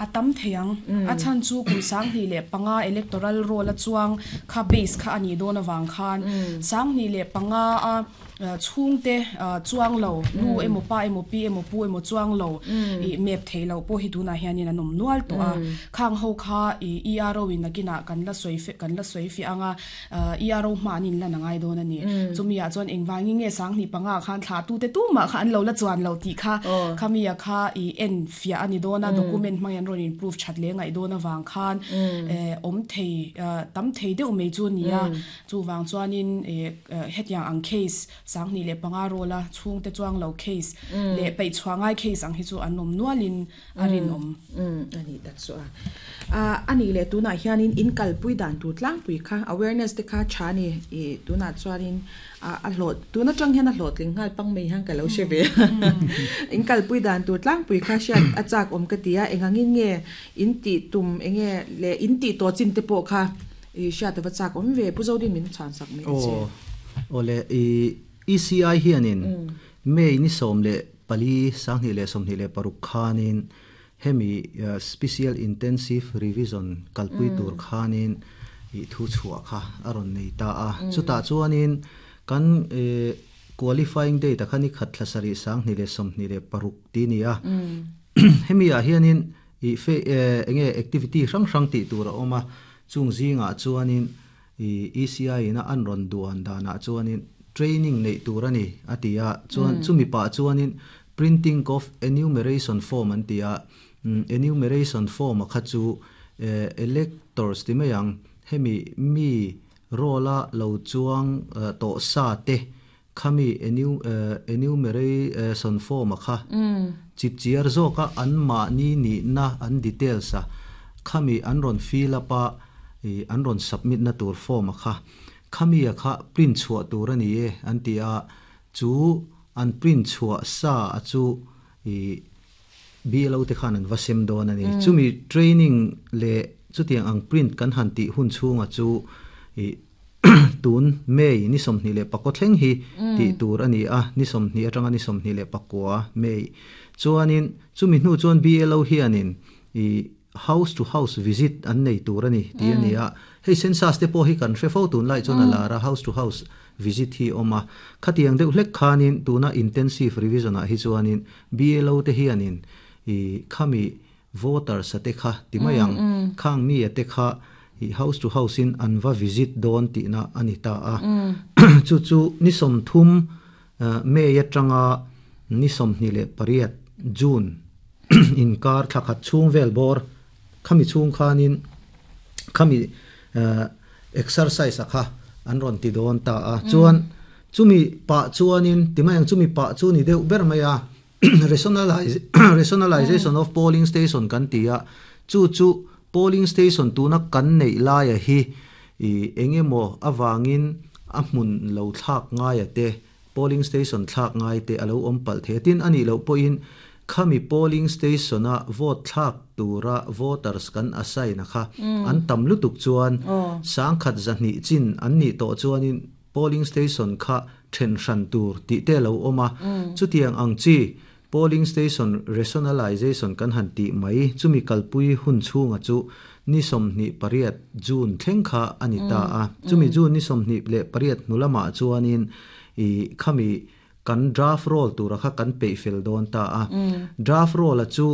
A tam thei ang. A chhan chu kum 2005 electoral roll a chuang kha base kha a nih dawn avang khan 2005 a chhungte chuang lo, nu emaw pa emaw pi emaw pu emaw chuang lo ih map thei loh pawh hi tunah hianin an awm nual tawh a. Khang ho kha ih ERO in nakinah kan la sawi kan la sawi fiah ang a, ERO hma an inlan a ngai dawn a ni. Chumi ah chuan engvangin nge 2005 ah khan thlah tute tumah kha an lo la chuan lo tih kha khami ah kha ih en fiah a ni dawn a, document hmangin an rawn in proof that leh ngaih dawn avang khan awm thei tam thei deuh mai chu a ni a. Chuvang chuanin hetiang ang case 2005 roll a chhungte chuang lo case leh peih chhuah ngai case ang hi chu an awm nualin a rinawm. A nih tak chu a. A nih leh tunah hianin in kalpui dan tur tlangpui kha awareness te kha tha a ni. Ih tunah chuanin a hlawh tun atang hian a hlawhtling nghal pang mai hian ka lo hre ve a. In kalpui dan tur tlangpui kha hriat a chak awm ka ti a, engangin nge in tih tum enge leh in tih tawh chin te pawh kha ih hriat a va chak awm ve. Pu Zodin min chhan sak mai che. Aw awle ih ECI hianin May ni 14, 2026 khanin hemi Special Intensive Revision kalpui tur khanin ih thu chhuah kha a rawn nei ta a. Chutah chuanin kan qualifying date ah khan i khat thla sarih 2026 tih a ni a. Hemi ah hianin ih enge activity hrang hrang tih tur a awm a, chung zingah chuanin I ECI ina an rawn duan danah chuanin training neih tur a ni a ti a, chuan chumi pah chuanin printing of enumeration form an ti a, enumeration form a kha chu electors ti mai ang, hemi mi roll a lo chuang tawh sa te khami enumeration form a kha chipchiar zawk a an mahni nihna an details a khami an rawn fill up a an rawn submit na tur form a kha khami a kha print chhuah tur a ni e an ti a chu an print chhuah sa a chu BLO te khan an va sem dawn a ni. Chumi training leh chutiang ang print kan han tih hun chhunga chu tun May ni 24 thleng hi tih tur a ni a, ni 20 atanga ni 29 May. Chuanin chumi hnu chuan BLO hianin house to house visit an nei tur a ni tih a ni a. Hei census te pawh hi kan hre fo tunlai chuan a lar a, house to house visit hi a awm a. Khatiang deuh hlek khanin tuna intensive revision ah hi chuanin BLO te hianin khami voters a te kha ti mai ang, khang mi a te kha house to house in an va visit dawn tihna a ni ta a. Chu chu ni 30 May atanga ni 28 June inkar thla khat chhung vel bawr khami chhung khanin khami exercise a kha an rawn ti dawn ta a. Chuan chumi pah chuanin ti mai ang chumi pah chu ni deuh ber mai a rationalization of polling station kan ti a, chu chu polling station tuna kan neih laia hi ih engemaw avangin a hmun lo thlak ngaia te polling station thlak ngai te a lo awm palh thei a, tin a nih loh pawhin khami polling station a vote thlak tura voters kan assign a kha an tam lutuk chuan 1200 chin an nih tawh chuanin polling station kha then hran tur tih te a lo awm a, chutiang ang chi polling station rationalization kan han tih mai chumi kalpui hun chhunga chu ni 28 June thleng kha a ni ta a, chumi June ni 28 hnu lamah chuanin ih khami kan draft roll tura kha kan peih fel dawn ta a, draft roll a chu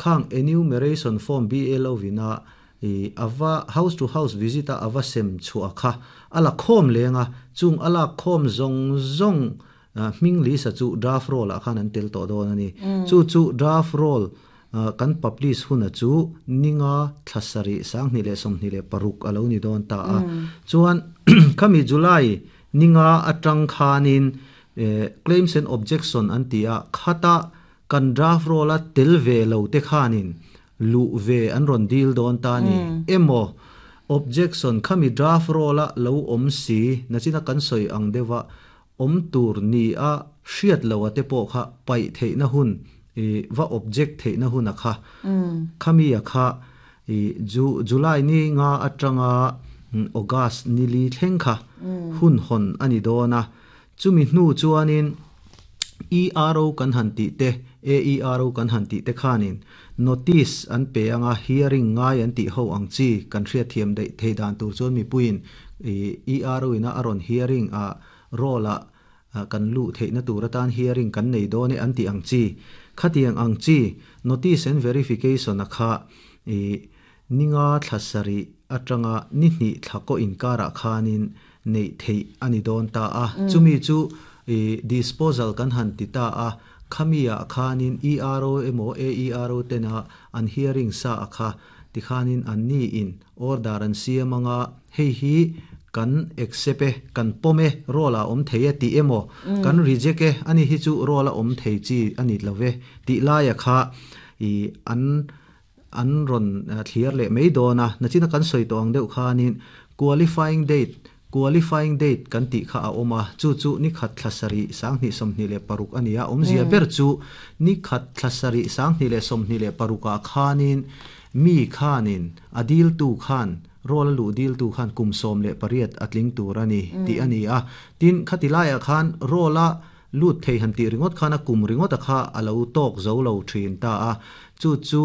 khang enumeration form BLO ina ih ava house to house visit a ava sem chhuah kha a la khawm leng a, chung a lak khawm zawng zawng hming list a chu draft roll ah khan an tel tawh dawn a ni. Chu chu draft roll kan publish huna chu ninga thla sarih 2026 a lo ni dawn ta a. Chuan khami July ninga atang khanin claims and objection an ti a, khata kan draft roll a tel ve lo te khanin luh ve an rawn dil dawn ta ni emaw objection khami draft roll a lo awm si nachina kan sawi ang deuha awm tur ni a hriat lo a te pawh kha paih theihna hun va object theihna hun a kha khami a kha July ni nga atanga August ni li thleng kha hun hawn a ni dawn a, chumi hnu chuanin ERO kan han tih te, AERO kan han tih te khanin notice an pe anga hearing ngai an tih ho ang chi kan hriat thiam daih thei dan tur chuan mipuiin ERO ina a rawn hearing a roll ah kan luh theihna tur atan hearing kan nei dawn e an tih ang chi. Khatiang ang chi notice and verification a kha i ninga thla sarih atanga ni hnih thla kaw inkarah khanin neih theih a ni dawn ta a. Chumi chu i disposal kan han ti ta a, khami ah khanin ERO emaw AERO tena an hearing sa a kha tikhanin an ni in order an siam anga hei hi kan accept e, kan pawm e, roll ah awm thei e tih emaw kan reject e ani hi chu roll a awm thei chi a ni lo ve tih laia kha i an an rawn thlir leh mai dawn a. Nachina kan sawi tawh ang deuh khanin qualifying date qualifying date kan tih kha a awm a, chu chu ni khat thla sarih 2026 a ni a. Awmzia ber chu ni khat thla sarih 2026 ah khanin mi khanin a dil tu khan roll a luh dil tu khan kum 18 a tling tur a ni tih a ni a. Tin, khati laiah khan roll a lut thei han tih ringawt khan a kum ringawt a kha a lo tawk zo lo thin ta a. Chu chu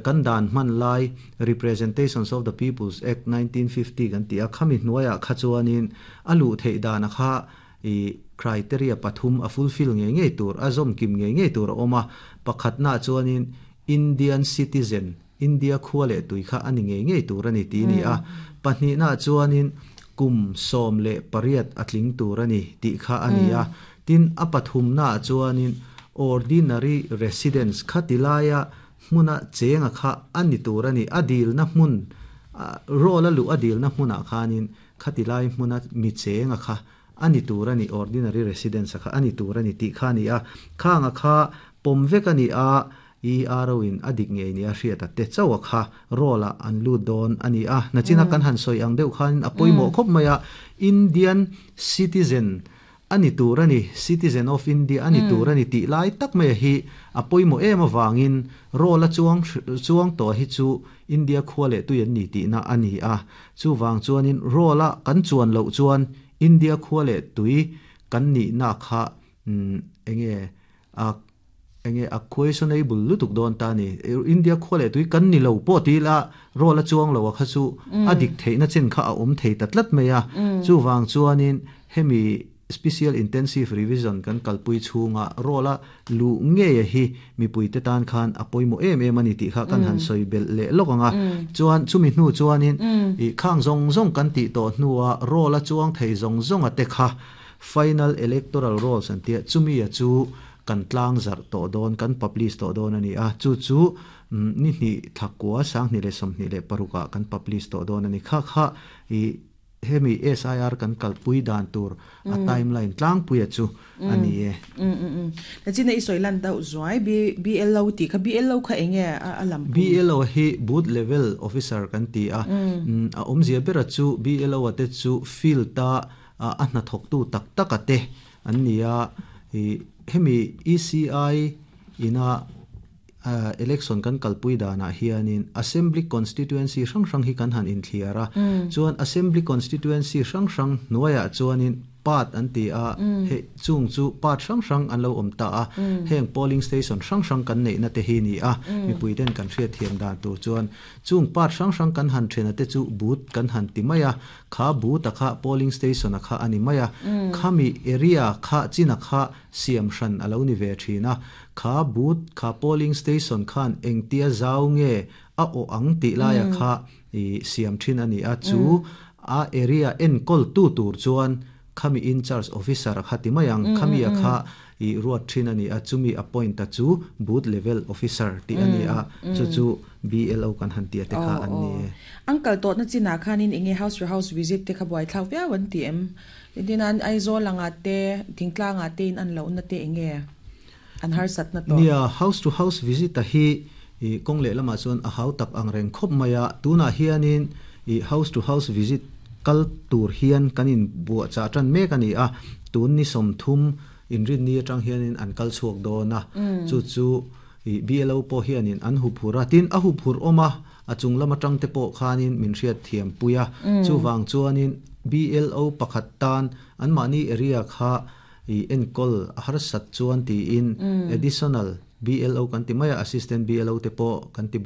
kan dan hman lai Representations of the People's Act 1950 kan tih a, khami hnuaiah kha chuanin a luh theih dan a kha i criteria pathum a fulfill ngei ngei tur, a zawm kim ngei ngei tur a awm a. Pakhatna chuanin Indian citizen, India khua leh tui kha a ni ngei ngei tur a ni tih a ni a. Pahnihna chuanin kum 18 a tling tur a ni tih kha a ni a. Tin, a pathumna chuanin ordinary residence kha ti laia hmuna chenga kha a ni tur a ni. A dilna hmun, roll a luh a dilna hmunah khanin khati lai hmuna mi chenga kha a ni tur a ni, ordinary residence kha a ni tur a ni tih kha a ni a. Khanga kha pawm vek a ni a, ERO in a dik ngei ni a hriat a te chauh a kha roll ah an lut dawn a ni a. Nachina kan han sawi ang deuh khanin a pawimawh khawp mai a, Indian citizen a ni tur a ni, citizen of India a ni tur a ni tih lai tak mai a hi a pawimawh em avangin roll a chuang chuang tawh hi chu India khua leh tui an ni tihna a ni a. Chuvang chuanin roll a kan chuan loh chuan India khua leh tui kan nihna kha enge a enge a questionable lutuk dawn ta ni. India khua leh tui kan ni lo pawh ti ila roll a chuang lo a kha chu a dik theihna chin kha a awm thei ta tlat mai a. Chuvang chuanin hemi special intensive revision kan kalpui chhunga roll a luh ngei a hi mipui te tan khan a pawimawh em em a ni tih kha kan han sawi belh leh lawk ang a. Chuan chumi hnu chuanin i khang zawng zawng kan tih tawh hnua roll a chuang thei zawng zawng a te kha final electoral rolls an tia, chumi a chu kan tlang zarh tawh dawn, kan publish tawh dawn a ni a. Chu chu ni hnih thla kua 2026 ah kan publish tawh dawn a ni. Kha kha i hemi SIR kan kalpui dan tur a timeline tlangpui a chu a ni e. Nachina i sawi lan deuh zuai BLO tih kha, BLO kha enge a lam pum? BLO hi booth level officer kan ti a. A awmzia ber a chu BLO a te chu field a a hnathawktu tak tak a te an ni a. I hemi ECI ina election kan kalpui danah hianin assembly constituency hrang hrang hi kan han inthliar a. Chuan assembly constituency hrang hrang hnuaiah chuanin part an ti a, hei chung chu part hrang hrang an lo awm ta a. Heng polling station hrang hrang kan neihna te hi ni a, mipui ten kan hriat thiam dan tur chuan chung part hrang hrang kan han thena te chu booth kan han ti mai a. Kha booth a kha polling station a kha a ni mai a. Khami area kha china kha siam hran a lo ni ve thin a. Kha booth kha polling station khan engtia zau nge a awh ang tih laia kha i siam thin a ni a. Chu a area enkawl tu tur chuan khami in charge officer a kha ti mai ang, khami a kha i ruat thin a ni a. Chumi appoint a chu booth level officer tih a ni a. Chu chu BLO kan han tia te kha an ni e. An kal tawhna chinah khanin enge house to house visit te kha buai thlak viau an ti em? Tin an Aizawl anga te, Thingtlanga te in an lohna te enge an harsatna tawh? Nia, house to house visit a hi i kawng leh lamah chuan a hau tak ang reng khawp mai a. Tunah hianin i house to house visit kal tur hian kan in buah chah tan mek a ni a. Tun ni 30 inrinni atang hianin an kal chhuak dawn a. Chu chu i BLO pawh hianin an hu phur a. Tin, a hu phur awm a, a chung lam atang te pawh khanin min hriat thiam pui a. Chuvang chuanin BLO pakhat tan an mahni area kha I enkawl a harsat chuan tiin additional BLO kan ti mai a, assistant BLO te pawh kan ti.